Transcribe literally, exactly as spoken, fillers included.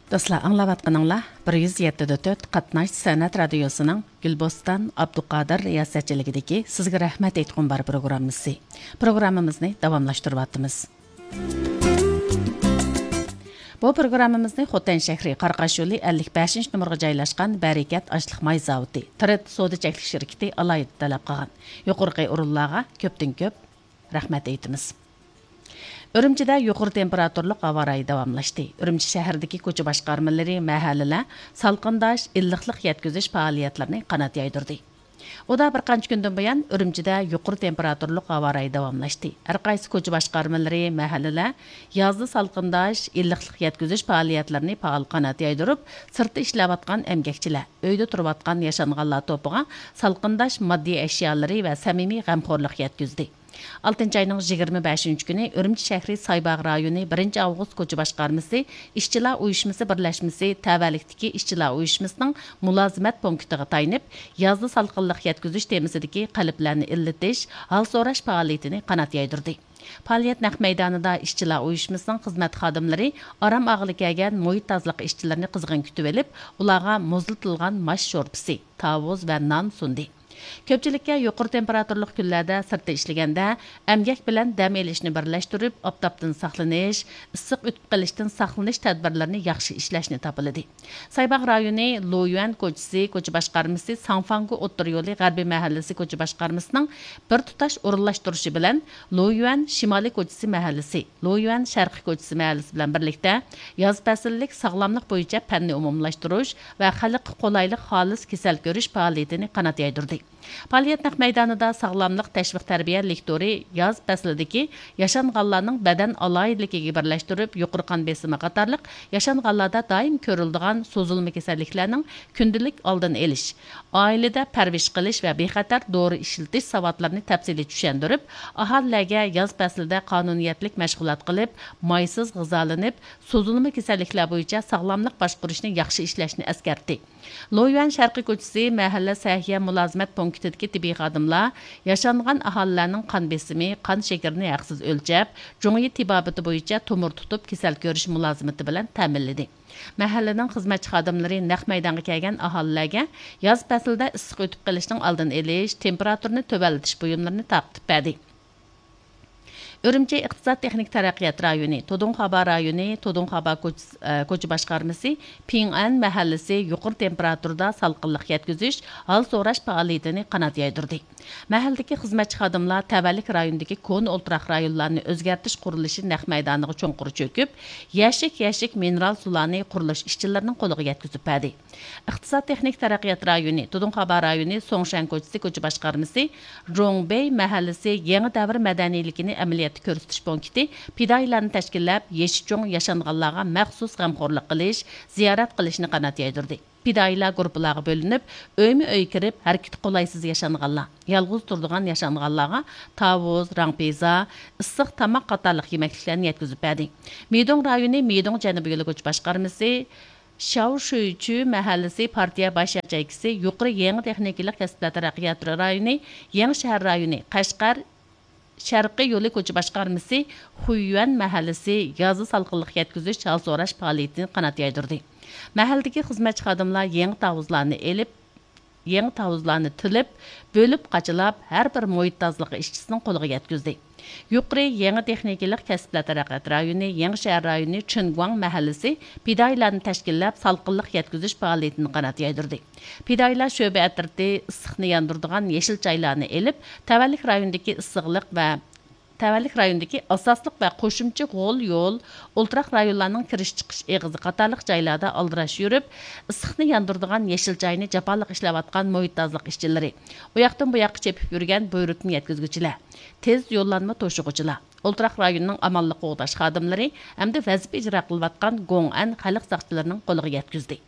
دوستلار، ئاڭلاۋاتقىنىڭلار بىر يۈز يەتتە دە تۆت قاتناش سەنئەت رادىيوسىنىڭ گۈلبوستان ئابدۇقادىر رىياسەتچىلىكىدىكى سىزگە رەھمەت ئېيتقۇم بار پروگراممىسى. پروگراممىمىزنى داۋاملاشتۇرۇۋاتىمىز. بۇ پروگراممىمىزنى خوتەن شەھىرى قاراقاش يولى ئەللىك بەشىنچى نومۇرغا جايلاشقان بەرىكەت ئاشلىق ماي زاۋۇتى، ترېد سودا چەكلىك شىركىتى ئالاھىدە تەلەپ قىلغان. يۇقىرىقى ئورۇنلارغا كۆپتىن كۆپ رەھمەت ئېيتىمىز. ئۈرۈمچىدە يۇقىرى تېمپېراتۇرلۇق ھاۋا رايى داۋاملاشتى. ئۈرۈمچى شەھىرىدىكى كوچا باشقارمىلىرى، مەھەللىلەر سالقىنداش، ئىللىقلىق يەتكۈزۈش پائالىيەتلىرىنى قانات يايدۇردى. ئۇدا بىر قانچە كۈندىن بۇيان ئۈرۈمچىدە يۇقىرى تېمپېراتۇرلۇق ھاۋا رايى داۋاملاشتى. ھەر قايسى كوچا باشقارمىلىرى، مەھەللىلەر يازدا سالقىنداش، ئىللىقلىق يەتكۈزۈش پائالىيەتلىرىنى پائال قانات يايدۇرۇپ، سىرتتا ئىشلەۋاتقان ئەمگەكچىلەر، ئۆيدە تۇرۇۋاتقان ياشانغانلار توپىغا سالقىنداش ماددىي ئەشيالىرى ۋە سەمىمىي غەمخورلۇق يەتكۈزدى. ئالتىنچى ئاينىڭ يىگىرمە بەشىنچى كۈنى ئۈرۈمچى شەھىرى سايباغ رايونى بىرىنچى ئاۋغۇست كوچا باشقارمىسى ئىشچىلار ئۇيۇشمىسى بىرلەشمىسى تەۋەلىكتىكى ئىشچىلار ئۇيۇشمىسىنىڭ مۇلازىمەت پونكىتىغا تايىنىپ، يازدا سالقىنلىق يەتكۈزۈش تېمىسىدىكى قەلبلەرنى ئىللىتىش، ھال سوراش پائالىيىتىنى قانات يايدۇردى. پائالىيەت نەق مەيدانىدا ئىشچىلار ئۇيۇشمىسىنىڭ خىزمەت خادىملىرى ئارام ئاغىلى كەلگەن مۇھىت تازىلىق ئىشچىلىرىنى قىزغىن كۈتۈۋېلىپ، ئۇلارغا مۇزلىتىلغان ماش شورپىسى، تاۋۇز ۋە نان سۇندى. كۆپچىلىككە يۇقىرى تېمپېراتۇرلۇق كۈنلەردە سىرتتا ئىشلىگەندە، ئەمگەك بىلەن دەم ئېلىشنى بىرلەشتۈرۈپ، ئاپتاپتىن ساقلىنىش، ئىسسىق ئۆتۈپ قېلىشتىن ساقلىنىش تەدبىرلىرىنى ياخشى ئىشلەشنى تاپىلىدى. سايباغ رايونى لويۈەن كوچىسى كوچا باشقارمىسى، ساڭفاڭگو ئوتتۇرا يولى غەربىي مەھەللىسى كوچا باشقارمىسىنىڭ بىر تۇتاش ئورۇنلاشتۇرۇشى بىلەن، لويۈەن شىمالىي كوچىسى مەھەللىسى، لويۈەن شەرقىي كوچىسى مەھەللىسى بىلەن بىرلىكتە ياز پەسىللىك ساغلاملىق بويىچە پەننى ئومۇملاشتۇرۇش ۋە خەلققە قولايلىق خالىس كېسەل كۆرۈش پائالىيىتىنى قانات يايدۇردى. پائالىيەت نەق مەيدانىدا ساغلاملىق تەشۋىق تەربىيە لېكتورى ياز پەسلىدىكى ياشانغانلارنىڭ بەدەن ئالاھىدىلىكىگە بىرلەشتۈرۈپ، يۇقىرى قان بېسىمى قاتارلىق ياشانغانلاردا دائىم كۆرۈلىدىغان سوزۇلما كېسەللىكلەرنىڭ كۈندىلىك ئالدىنى ئېلىش، ئائىلىدە پەرۋىش قىلىش ۋە بىخەتەر دورا ئىشلىتىش ساۋاتلىرىنى تەپسىلىي چۈشەندۈرۈپ، ئاھالىلەرگە ياز پەسلىدە قانۇنىيەتلىك مەشغۇلات قىلىپ، مايسىز غىزالىنىپ، سوزۇلما كېسەللىكلەر بويىچە ساغلاملىق باشقۇرۇشنى ياخشى ئىشلەشنى ئەسكەرتتى. لويۈەن شەرقىي كوچىسى مەھەللە سەھىيە مۇلازىمەت پونكىتىدىكى تېببىي خادىملار ياشانغان ئاھالىلەرنىڭ قان بېسىمى، قان شېكىرىنى ھەقسىز ئۆلچەپ، جۇڭيى تېبابىتى بويىچە تومۇر تۇتۇپ كېسەل كۆرۈش مۇلازىمىتى بىلەن تەمىنلىدى. مەھەللىنىڭ خىزمەتچى خادىملىرى نەق مەيدانغا كەلگەن ئاھالىلەرگە ياز پەسلىدە ئىسسىق ئۆتۈپ قېلىشنىڭ ئالدىنى ئېلىش، تېمپېراتۇرىنى تۆۋەنلىتىش بۇيۇملىرىنى تارقىتىپ بەردى. ئۈرۈمچى ئىقتىساد تېخنىكا تەرەققىيات رايونى، تودۇڭخابا رايونى، تودۇڭخابا كوچىسى، ئە، كوچا باشقارمىسى پىڭئەن مەھەللىسى يۇقىرى تېمپېراتۇرىدا سالقىنلىق يەتكۈزۈش، ھال سوراش پائالىيىتىنى قانات يايدۇردى. مەھەللىدىكى خىزمەتچى خادىملار تەۋەلىك رايونىدىكى كونا ئولتۇراق رايونلارنى ئۆزگەرتىش قۇرۇلۇشى نەق مەيدانىغا چوڭقۇر چۆكۈپ، يەشىك يەشىك مىنېرال سۇلارنى قۇرۇلۇش ئىشچىلىرىنىڭ قولىغا يەتكۈزۈپ بەردى. ئىقتىساد تېخنىكا تەرەققىيات رايونى، تۇدۇڭخابا رايونى سوڭشەن كوچىسى كوچا باشقارمىسى جوڭ بېي مەھەللىسى يېڭى دەۋر مەدەنىيلىكىنى ئەمەلىيەتتە كۆرسىتىش پونكىتى پىدائىيلارنى تەشكىللەپ، يېشى چوڭ ياشانغانلارغا مەخسۇس غەمخورلۇق قىلىش، زىيارەت قىلىشنى قانات يايدۇردى. پىدائىيلار گۇرۇپپىلارغا بۆلۈنۈپ، ئۆيمۇ ئۆي كىرىپ، ھەرىكىتى قولايسىز ياشانغانلار، يالغۇز تۇرىدىغان ياشانغانلارغا تاۋۇز، راڭپىزا، ئىسسىق تاماق قاتارلىق يېمەكلىكلەرنى يەتكۈزۈپ بەردى. مىدوڭ رايونى مىدوڭ جەنۇبىي يولى كوچا باشقارمىسى شياۋ شۈيچۈ مەھەللىسى پارتىيە باش ياچېيكىسى، يۇقىرى يېڭى تېخنىكىلىق كەسىپلەر تەرەققىيات رايونى، يېڭى شەھەر رايونى، قەشقەر شەرقىي يولى كوچا باشقارمىسى خۇييۈەن مەھەللىسى يازدا سالقىنلىق يەتكۈزۈش، ھال سوراش پائالىيىتىنى قانات يايدۇردى. مەھەللىدىكى خىزمەتچى خادىملار يېڭى تاۋۇزلارنى ئېلىپ، يېڭى تاۋۇزلارنى تىلىپ، بۆلۈپ قاچىلاپ، ھەر بىر مۇھىت تازىلىقى ئىشچىسىنىڭ قولىغا يەتكۈزدى. يۇقىرى يېڭى تېخنىكىلىق كەسىپلەر تەرەققىيات رايونى، يېڭى شەھەر رايونى چىنگۇاڭ مەھەللىسى پىدائىيلارنى تەشكىللەپ، سالقىنلىق يەتكۈزۈش پائالىيىتىنى قانات يايدۇردى. پىدائىيلار شۆبە ئەترىتى ئىسسىقنى ياندۇرىدىغان يېشىل چايلارنى ئېلىپ، تەۋەلىك رايونىدىكى ئىسسىقلىق ۋە تەۋەلىك رايونىدىكى ئاساسلىق ۋە قوشۇمچە غول يول، ئولتۇراق رايونلارنىڭ كىرىش چىقىش ئېغىزى قاتارلىق جايلاردا ئالدىراش يۈرۈپ، ئىسسىقنى ياندۇرىدىغان يېشىل چاينى جاپالىق ئىشلەۋاتقان مۇھىت تازىلىق ئىشچىلىرى، ئۇياقتىن بۇياققا چېپىپ يۈرگەن بۇيرۇتما يەتكۈزگۈچىلەر، تېز يوللانما توشۇغۇچىلار، ئولتۇراق رايوننىڭ ئامانلىق قوغداش خادىملىرى ھەمدە ۋەزىپە ئىجرا قىلىۋاتقان گوڭئەن خەلق ساقچىلىرىنىڭ قولىغا يەتكۈزدى.